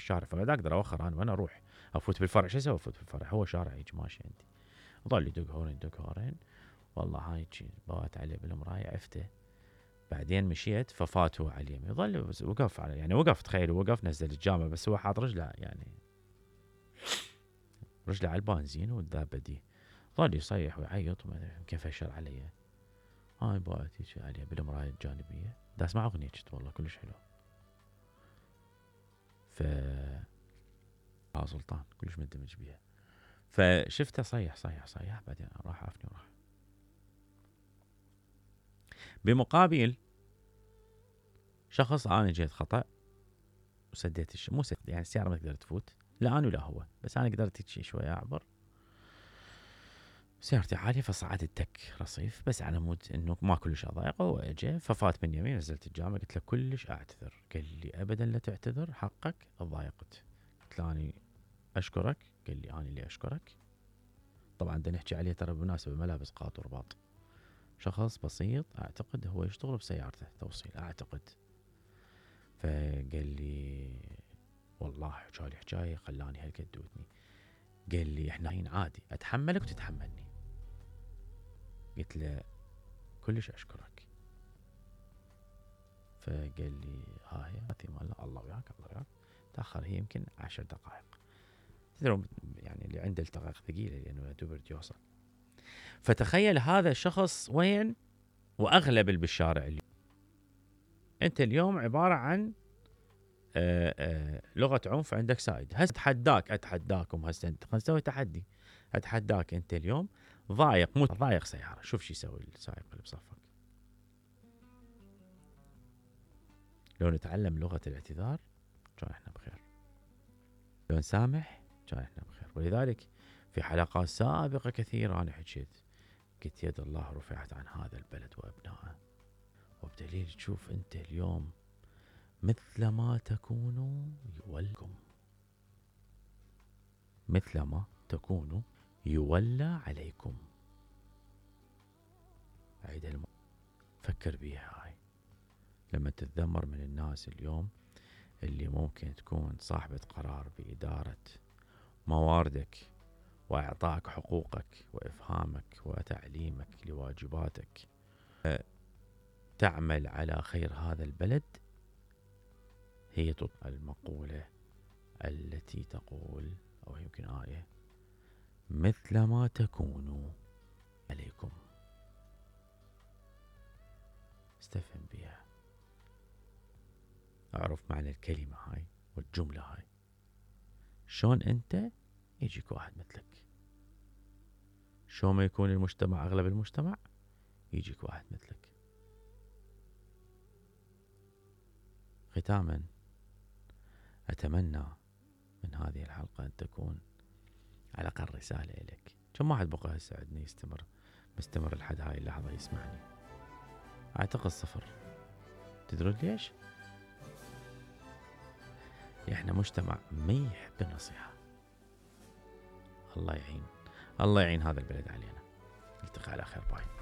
بالشارع، فقاعد اقدر اوخر انا وين اروح؟ افوت بالفرع، شو اسوي افوت بالفرع؟ هو شارع هيك ماشي عندي. ظل يدق هورين دق هورين، والله هاي بوات عليه بالمراية عفته. بعدين مشيت ففات هو على اليمين، ظل وقف على يعني وقف، تخيل وقف نزل الجامع بس هو حاط رجله يعني رجله على البنزين والدابة دي. ظل يصيح ويعيط وما ادري يمكن فشل علي. هاي بوات هيك عليه بالمراية الجانبية، دا اسمع اغنية والله كلش حلو. ف سلطان كلش مندمج بيها. فشفته صيح بعدين راح عافني وراح. بمقابل شخص انا جيت خطأ وسديت مو سد، يعني السيارة ما تقدر تفوت، لا انا ولا هو، بس انا قدرت هيك شوية اعبر. سيارتي عالية فصعدت تك رصيف، بس على مود انه ما كلش اضايقه. هو اجى ففات من يمين، نزلت الجامع، قلت له كلش اعتذر. قال لي ابدا لا تعتذر، حقك، ضايقت. قلت له اني اشكرك. قال لي انا اللي اشكرك. طبعا بدنا نحكي عليه ترى بمناسبة ملابس قاط ورباط، شخص بسيط اعتقد هو يشتغل بسيارته توصيل اعتقد. فقال لي والله حكالي حكايه خلاني هالقد ودني. قال لي احنا الحين عادي اتحملك وتتحملني. قلت له كلش اشكرك. فقال لي ها هي الله وياك الله وياك. تاخر هي يمكن 10 دقائق. تدرون يعني اللي عنده التقاق ثقيله لانه دوب يوصل. فتخيل هذا الشخص وين، واغلب اللي بالشارع اليوم. انت اليوم عباره عن لغه عنف عندك سائد. هسه اتحداكم هسه انت خلينا نسوي تحدي. اتحداك انت اليوم ضايق سياره، شوف شو يسوي السائق اللي بصفك. لو نتعلم لغه الاعتذار كان احنا بخير، لو نسامح كان احنا بخير. ولذلك في حلقات سابقه كثيره انا حكيت، قلت يد الله رفعت عن هذا البلد وابنائه، وبدليل تشوف انت اليوم مثل ما تكونوا يولكم، مثل ما تكونوا يولى عليكم. عيد فكر بيها هاي لما تتذمر من الناس اليوم اللي ممكن تكون صاحبة قرار بإدارة مواردك وإعطائك حقوقك وإفهامك وتعليمك لواجباتك، تعمل على خير هذا البلد. هي المقولة التي تقول، أو يمكن آية، مثل ما تكونوا عليكم. استفهم بها، اعرف معنى الكلمة هاي والجملة هاي. شلون انت يجيك واحد مثلك، شلون ما يكون المجتمع اغلب المجتمع يجيك واحد مثلك. ختاما اتمنى من هذه الحلقة ان تكون على الاقل رسالة الك. كم واحد بقى هسه عندنا مستمر لحد هاي اللحظة يسمعني؟ اعتقد 0. تدرون ليش؟ احنا مجتمع ما يحب النصيحة. الله يعين هذا البلد علينا. نلتقي على خير. باي.